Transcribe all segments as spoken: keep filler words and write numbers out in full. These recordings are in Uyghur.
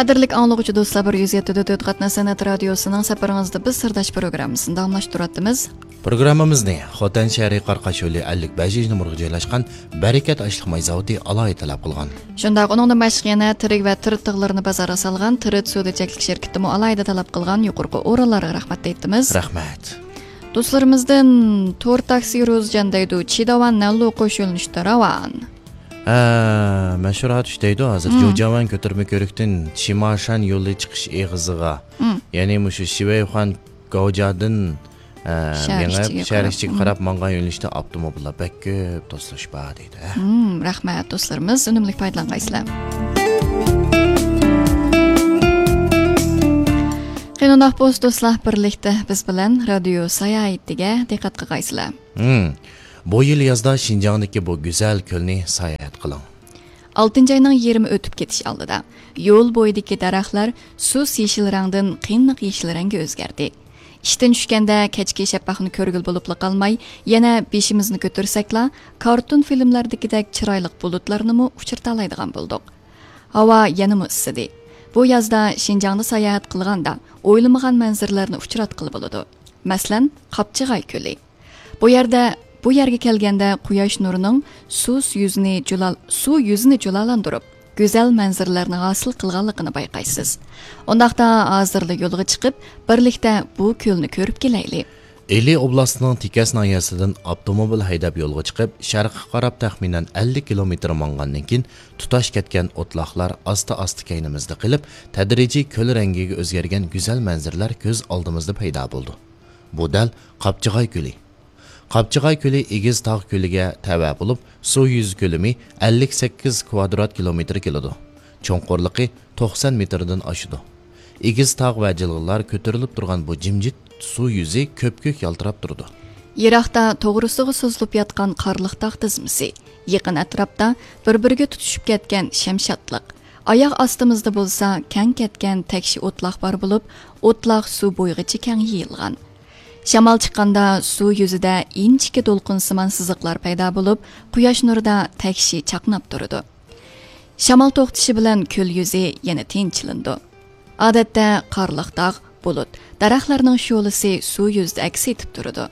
قەدىرلىك ئاڭلىغۇچى دوستلار، بىر يۈز يەتتە دۆت قاتناش سەنئەت رادىيوسىنىڭ سەپىرىڭىزدە بىز سىرداش پروگراممىسىنى داۋاملاشتۇرۇۋاتىمىز. پروگراممىمىزنى خوتەن شەھىرى قاراقاش يولى ئەللىك بەشىنچى نومۇرغا جايلاشقان بەرىكەت ئاشلىق ماي زاۋۇتى ئالاھىدە تەلەپ قىلغان. شۇنداق، ئۇنىڭدىن باشقا يەنە تىرىك ۋە تىرىت تىغلىرىنى بازارغا سالغان تىرىت سودا چەكلىك شىركىتىمۇ ئالاھىدە تەلەپ قىلغان يۇقىرىقى ئورۇنلارغا رەھمەت ئېيتىمىز. رەھمەت. دوستلىرىمىزدىن تور تاكسى روزىجان دەيدۇ، چىداۋان نەنلۇ قوش يۆنىلىشتە راۋان. ھە، مەشھۇر ئاتۇش دەيدۇ ھازىر. مم. جۇجاۋان كۆتۈرمە كۆرۈكتىن چىماشان يولى چىقىش ئېغىزىغا، مم، يەنى مۇشۇ شىۋەيخۇان گاۋجادىن، ئە، شەھەر مېڭىپ، ئىچىگە شەھەر قاراپ، ئىچىگە مم، قاراپ ماڭغان يۆنىلىشتە ئاپتوموبىللار بەك كۆپ توسۇلۇش بار دەيدۇ. ھە. مم، رەھمەت دوستلىرىمىز، ئۈنۈملۈك پايدىلانغايسىلەر. قېنى ئۇنداق بولسا دوستلار، بىرلىكتە بىز بىلەن رادىيو ساياھىتىگە دىققەت قىلغايسىلەر. مم. بۇ يىل يازدا شىنجاڭدىكى بۇ گۈزەل كۆلنى ساياھەت قىلىڭ. ئالتىنچى ئاينىڭ يىگىرمە ئۆتۈپ كېتىش ئالدىدا، يول بويىدىكى دەرەخلەر سۇس يېشىل رەڭدىن قېنىق يېشىل رەڭگە ئۆزگەردى. ئىشتىن چۈشكەندە كەچكى شەپەقنى كۆرگىلى بولۇپلا قالماي، يەنە بېشىمىزنى كۆتۈرسەكلا، كارتون فىلىملاردىكىدەك چىرايلىق بۇلۇتلارنىمۇ ئۇچرىتالايدىغان بولدۇق. ھاۋا يەنىمۇ ئىسسىدى. بۇ يازدا شىنجاڭدا ساياھەت قىلغاندا ئويلىمىغان مەنزىرىلەرنى ئۇچراتقىلى بولىدۇ. مەسىلەن، قاپچىغاي كۆلى. بۇ يەردە، بۇ يەرگە كەلگەندە قۇياش نۇرىنىڭ سۇس يۈزىنى جۇلال-، سۇ يۈزىنى جۇلالاندۇرۇپ، گۈزەل مەنزىرىلەرنى ھاسىل قىلغانلىقىنى بايقايسىز. ئۇنداقتا ھازىرلا يولغا چىقىپ، بىرلىكتە بۇ كۆلنى كۆرۈپ كېلەيلى. ئىلى ئوبلاستىنىڭ تېكەس ناھىيەسىدىن ئاپتوموبىل ھەيدەپ يولغا چىقىپ، شەرققە قاراپ تەخمىنەن ئەللىك كىلومېتىر ماڭغاندىن كېيىن، تۇتاش كەتكەن ئوتلاقلار ئاستا-ئاستا كەينىمىزدە قېلىپ، تەدرىجىي كۆل رەڭگىگە ئۆزگەرگەن گۈزەل مەنزىرىلەر كۆز ئالدىمىزدا پەيدا بولىدۇ. بۇ دەل قاپچىغاي كۆلى. قاپچىغاي كۆلى ئېگىز تاغ كۆلىگە تەۋە بولۇپ، سۇ يۈزى كۆلىمى ئەللىك سەككىز كۋادرات كىلومېتىر كېلىدۇ. چوڭقۇرلۇقى توقسان مېتىردىن ئاشىدۇ. ئېگىز تاغ ۋە جىلغىلار كۆتۈرۈلۈپ تۇرغان بۇ جىمجىت سۇ يۈزى كۆپكۆك يالتىراپ تۇرىدۇ. يىراقتا توغرىسىغا سوزۇلۇپ ياتقان قارلىق تاغ تىزمىسى، يېقىن ئەتراپتا بىر-بىرىگە تۇتىشىپ كەتكەن شەمشادلىق، ئاياغ ئاستىمىزدا بولسا كەڭ كەتكەن تەكشى ئوتلاق بار بولۇپ، ئوتلاق سۇ بويىغىچە كەڭ يېيىلغان. شامال چىققاندا سۇ يۈزىدە ئىنچىكە دولقۇنسىمان سىزىقلار پەيدا بولۇپ، قۇياش نۇرىدا تەكشى چاقناپ تۇرىدۇ. شامال توختىشى بىلەن كۆل يۈزى يەنە تىنچلىنىدۇ. ئادەتتە قارلىق تاغ، بۇلۇت، دەرەخلەرنىڭ شولىسى سۇ يۈزىدە ئەكس ئېتىپ تۇرىدۇ.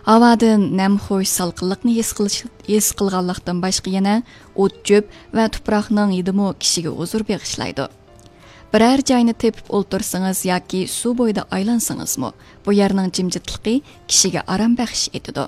ھاۋادىن نەمخۇش سالقىنلىقنى ھېس قىلىش، ھېس قىلغانلىقتىن باشقا يەنە ئوت-چۆپ ۋە تۇپراقنىڭ ھىدىمۇ كىشىگە ھۇزۇر بېغىشلايدۇ. بىرەر جاينى تېپىپ ئولتۇرسىڭىز ياكى سۇ بويىدا ئايلانسىڭىزمۇ، بۇ يەرنىڭ جىمجىتلىقى كىشىگە ئارام بەخش ئېتىدۇ.